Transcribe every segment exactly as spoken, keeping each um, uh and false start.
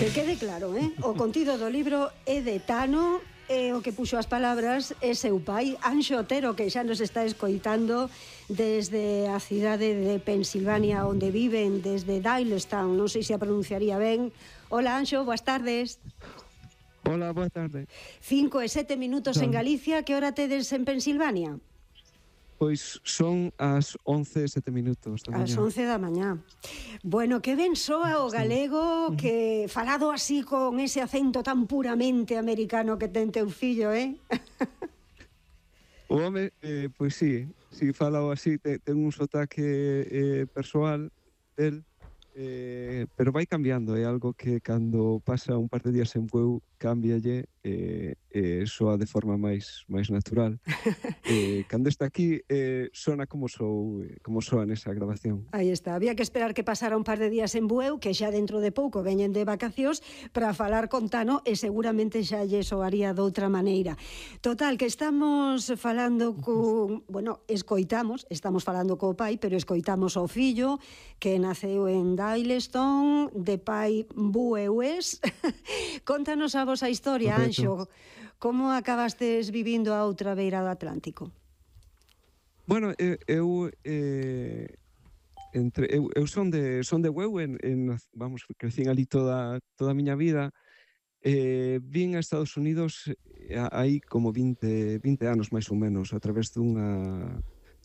Que quede claro, eh? O contido do libro é de Tano, e o que puxo as palabras é seu pai, Anxo Otero, que xa nos está escoitando desde a cidade de Pensilvania, onde viven, desde Doylestown, non sei se a pronunciaría ben. Hola, Anxo, boas tardes. Hola, boa tarde. Cinco e sete minutos en Galicia, que hora tedes en Pensilvania? Pois son as once e sete minutos da mañá. As once da mañá. Bueno, que ben soa o galego, que falado así con ese acento tan puramente americano que ten teu fillo, eh? O home, eh, pois sí, si falao así, ten, ten un sotaque eh, persoal del, eh, pero vai cambiando, é algo que cando pasa un par de días en Bueu cámbialle e eh, eh, soa de forma máis máis natural. Eh, cando está aquí eh, sona como sou, como soa nesa grabación. Aí está, había que esperar que pasara un par de días en Bueu, que xa dentro de pouco veñen de vacacións, para falar con Tano e seguramente xa lle soaría doutra maneira. Total, que estamos falando con... Bueno, escoitamos, estamos falando co pai, pero escoitamos o fillo que naceu en Doylestown, de pai bueués. Contanos a vosa historia, Anxo. Como acabastes vivindo a outra beira do Atlántico? Bueno, eu, eu eh, entre eu, eu son de son de Bueu, en, en vamos, crecín ali toda toda a miña vida. Eh, vin a Estados Unidos eh, aí como vinte, vinte anos máis ou menos, a través dunha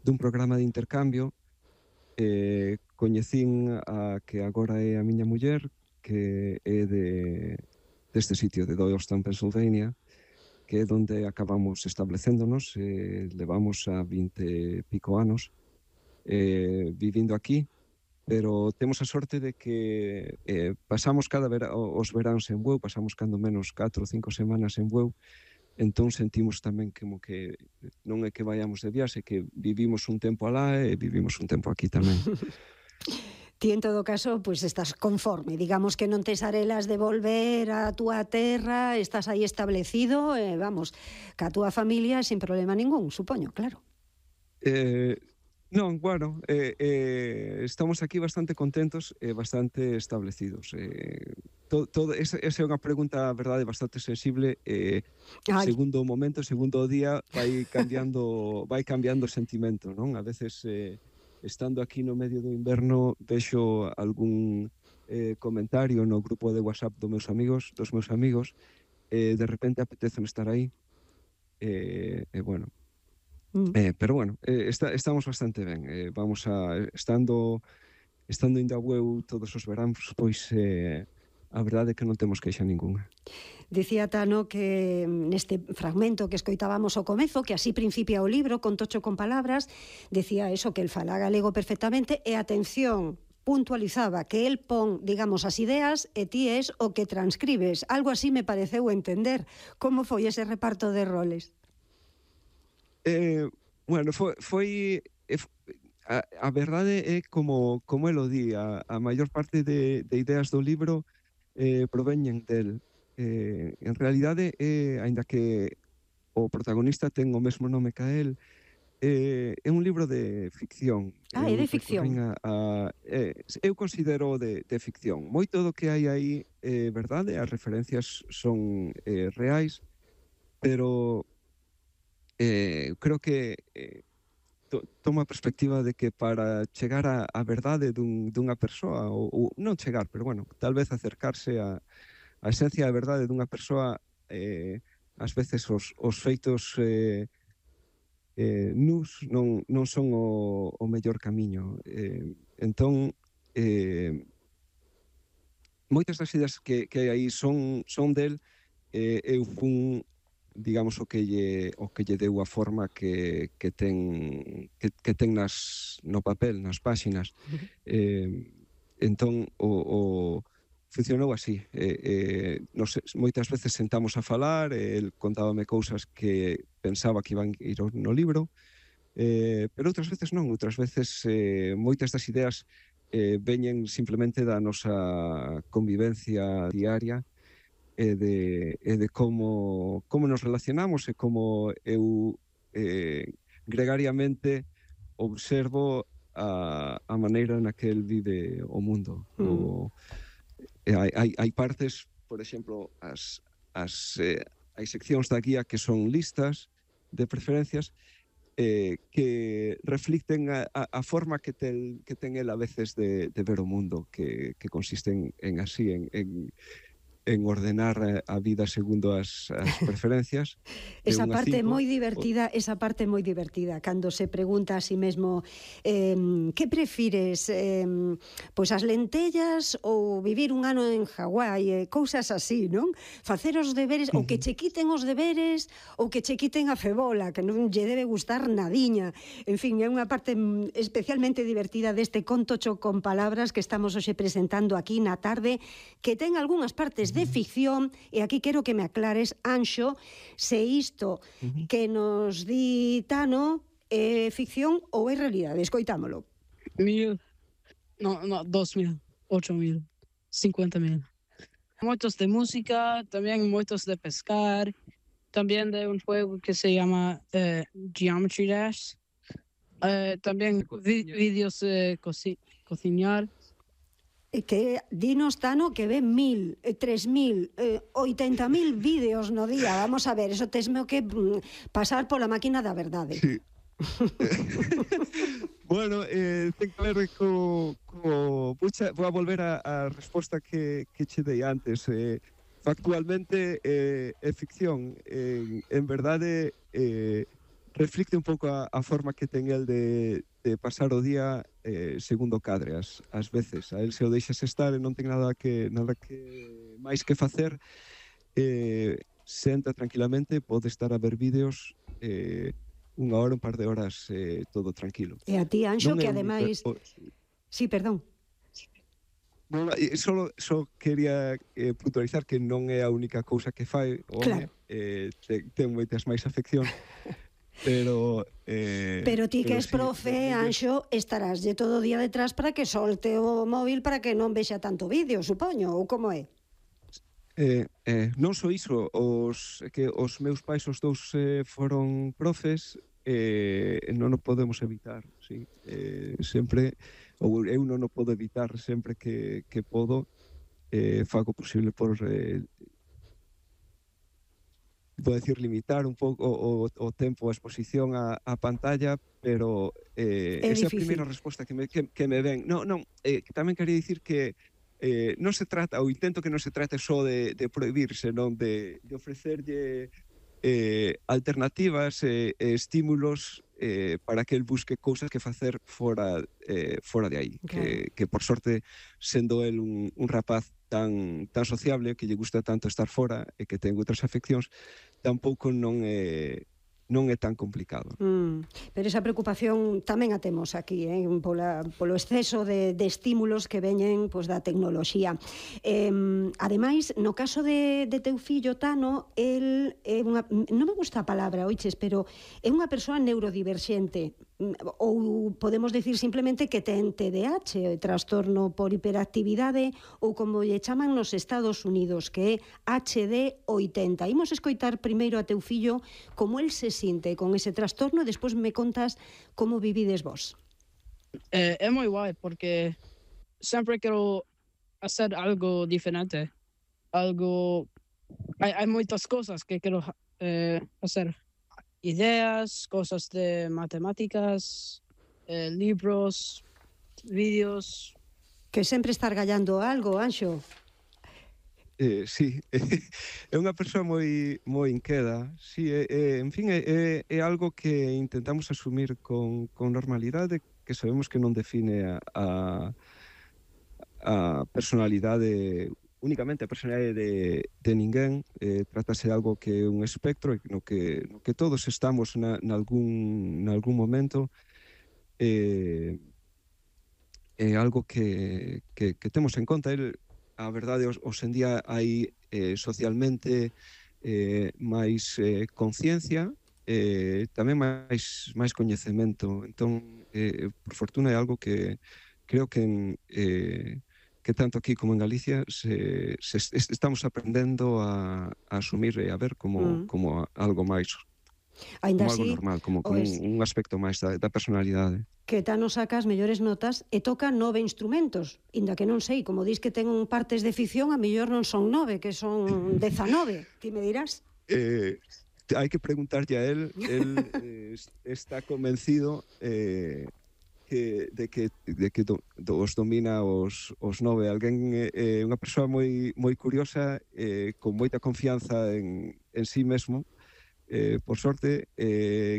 dun programa de intercambio. Eh, coñecín a que agora é a miña muller, que é de deste sitio de Doylestown, Pennsylvania, que é donde acabamos establecéndonos. Eh, levamos a vinte pico anos eh, vivindo aquí, pero temos a sorte de que eh, pasamos cada vera, os veráns en Bueu, pasamos cando menos catro ou cinco semanas en Bueu, entón sentimos tamén como que non é que vayamos de viaxe, que vivimos un tempo alá e vivimos un tempo aquí tamén. Ti, en todo caso, pois pues estás conforme, digamos que non tes arelas de volver á túa terra, estás aí establecido, e vamos, ca túa familia sin problema ningún, supoño, claro. Eh, non, bueno, eh, eh, estamos aquí bastante contentos e bastante establecidos. Eh, todo, todo, esa, esa é unha pregunta, a verdade, bastante sensible. Eh, segundo o momento, segundo o día, vai cambiando, vai cambiando o sentimento, non? A veces... Eh, estando aquí no medio do inverno, vexo algún eh, comentario no grupo de WhatsApp dos meus amigos, dos meus amigos, e eh, de repente apetece estar aí. E eh, eh, bueno, mm. eh, pero bueno, eh, está, estamos bastante ben. Eh, vamos a estando estando indo a Bueu todos os veráns, pois eh, a verdade é que non temos queixa ningunha. Dicía Tano que neste fragmento que escoitábamos ao comezo, que así principia o libro, con tocho con palabras, decía eso, que el fala galego perfectamente, e atención, puntualizaba que el pon, digamos, as ideas e ti es o que transcribes. Algo así me pareceu entender. Como foi ese reparto de roles? Eh, bueno, foi... foi eh, a, a verdade é como, como el o di, a, a maior parte de, de ideas do libro eh, proveñen del. Eh, en realidade, eh, aínda que o protagonista ten o mesmo nome ca el, eh, é un libro de ficción. Ah, é de ficción. A, a, eh, eu considero de, de ficción. Moito do que hai aí é eh, verdade, as referencias son eh, reais, pero eh, creo que eh, to, toma a perspectiva de que para chegar a, a verdade dun, dunha persoa, ou, ou non chegar, pero bueno, tal vez acercarse a a esencia da verdade dunha persoa, eh, ás veces os, os feitos eh, eh, nus non, non son o, o mellor camiño. Eh, entón, eh, moitas das ideas que, que hai aí son, son del. Eh, eu fun, digamos, o que lle, o que lle deu a forma que, que ten que, que ten nas, no papel, nas páxinas. Eh, entón, o, o funcionou así. Eh, eh, nos, moitas veces sentamos a falar, e el contábame cousas que pensaba que iban ir no libro, eh, pero outras veces non. Outras veces eh, moitas das ideas eh, veñen simplemente da nosa convivencia diaria, e de, e de como, como nos relacionamos, e como eu eh, gregariamente observo a, a maneira na que el vive o mundo. Mm. O, hai, hai, hai partes, por exemplo, as, as, eh, hai seccións da guía que son listas de preferencias eh, que reflicten a, a, a forma que ten, que ten el a veces de, de ver o mundo, que, que consiste en, en así, en, en, en ordenar a vida segundo as, as preferencias. Esa parte moi divertida, esa parte moi divertida, cando se pregunta a si mesmo eh, que prefires, eh, pois as lentellas ou vivir un ano en Hawái, eh, cousas así, non? Facer os deberes, ou que che quiten os deberes, ou que che quiten a febola, que non lle debe gustar nadiña. En fin, é unha parte especialmente divertida deste conto cho con palabras que estamos hoxe presentando aquí na tarde, que ten algunhas partes de ficción, e aquí quero que me aclares, Anxo, se isto uh-huh. que nos di Tano é ficción ou é realidade. Escoitámolo. Mil, no, no, dos mil, ocho mil, cincuenta mil. Moitos de música, tamén moitos de pescar, tamén de un juego que se llama eh, Geometry Dash, eh, tamén vi, vídeos de coci cociñar. Que dinos, Tano, que ven mil, tres mil, eh, oitenta mil vídeos no día. Vamos a ver, eso tesme que mm, pasar pola máquina da verdade. Sí. Bueno, eh, ten que ver co... co pucha, vou a volver a, a resposta que, que che dei antes. Eh, factualmente eh, é ficción. Eh, en verdade, eh, reflicte un pouco a, a forma que ten el de, de pasar o día eh, segundo cadre, as, as veces. A el se o deixas estar e non ten nada que nada que máis que facer, eh, senta tranquilamente, pode estar a ver vídeos eh, unha hora, un par de horas, eh, todo tranquilo. E a ti, Anxo, non que é ademais... Un... Sí, perdón. Non, só, só quería eh, puntualizar que non é a única cousa que fai o home, claro. eh, ten, ten moitas máis afeccións. Pero eh, pero ti que pero és profe, sí, Anxo, estarás de todo o día detrás para que solte o móvil para que non vexa tanto vídeo, supoño, ou como é? Eh, eh, non só iso, os, que os meus pais os dous eh, foron profes, eh, non o podemos evitar, sí. Eh, sempre, ou eu non o podo evitar, sempre que, que podo, eh, fago posible por... Eh, vou decir, limitar un pouco o, o tempo, a exposición á, á pantalla, pero eh, é esa é a difícil. primeira resposta que me, que, que me ven. Non, non, eh, tamén quería dicir que eh, non se trata, ou intento que non se trate só de, de prohibir, senón de, de ofrecerlle eh, alternativas e eh, estímulos eh, para que el busque cousas que facer fora, eh, fora de aí. Claro. Que, que, por sorte, sendo el un, un rapaz tan, tan sociable, que lle gusta tanto estar fora e que ten outras afeccións, tampouco non é, non é tan complicado. Mm, pero esa preocupación tamén a temos aquí, eh, pola, polo exceso de, de estímulos que veñen pois, da tecnoloxía. Eh, ademais, no caso de, de teu fillo, Tano, el é unha, non me gusta a palabra, oiches, pero é unha persoa neurodiverxente, ou podemos decir simplemente que ten T D A H, o trastorno por hiperactividade, ou como lle chaman nos Estados Unidos, que é H D oitenta. Imos escoitar primeiro a teu fillo como el se sinte con ese trastorno e despois me contas como vivides vos. Eh, é moi guai, porque sempre quero hacer algo diferente. Algo... Hai, hai moitas cousas que quero eh, hacer. Ideas, cosas de matemáticas, eh, libros, vídeos. Que sempre estar gallando algo, Anxo. Eh, sí, é unha persoa moi moi inqueda. Sí, é, é, en fin, é, é algo que intentamos asumir con, con normalidade, que sabemos que non define a, a, a personalidade únicamente a personalidade de, de ninguén, eh, trátase de algo que é un espectro no que, no que todos estamos na, nalgún, nalgún momento, eh, é algo que, que, que temos en conta. El, a verdade, os, os en día hai eh, socialmente eh, máis eh, conciencia, eh, tamén máis, máis coñecemento. Entón, eh, por fortuna é algo que creo que en, eh, que tanto aquí como en Galicia se, se estamos aprendendo a, a asumir e a ver como, mm. como a, algo máis Ainda como algo así, normal, como, como pois, un, un aspecto máis da, da personalidade. que Tano saca as mellores notas e toca nove instrumentos, inda que non sei, como dis que ten partes de ficción, a mellor non son nove, que son dezanove, ti me dirás? Eh, hai que preguntarlle a él, él eh, está convencido eh, que, de que, de que do, os domina os, os nove. Alguén, eh, unha persoa moi, moi curiosa, eh, con moita confianza en, en sí mesmo, eh, por sorte, eh,